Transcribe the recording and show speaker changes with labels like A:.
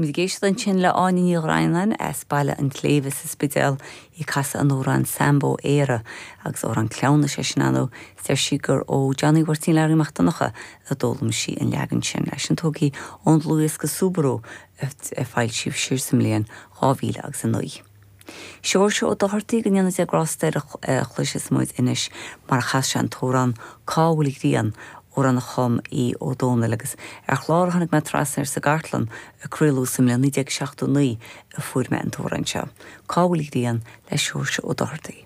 A: Bhí muid ag éisteacht ansin le Áine Ní Dhroighneáin as Baile an tSléibhe sa Spidéal, í ag casadh an amhráin Sambo Éire, agus amhrán cleamhnais é sin ar ndóigh. Is deir sí gur ó Johnny Mháirtín Learaí Mac Donncha a d'fhoghlaim sí an leagan sin. É sin tógtha ón dlúthdhiosca Súbarú a foilsíodh siar sa mbliain 2000 agus 9. Seoirse Ó Dochartaigh, go ndéana Dia grásta air, a chloisfeas muid anois mar a chas sé an t-amhrán Cá bhfuil an ghrian, amhrán a chum Aodh Ó Dónaill agus ar chlár a tháinig mé trasna air sa gcartlann a craoladh sa mbliain 1979 a fuair mé an t-amhrán seo. Cá bhfuil an ghrian le Seoirse Ó Dochartaigh.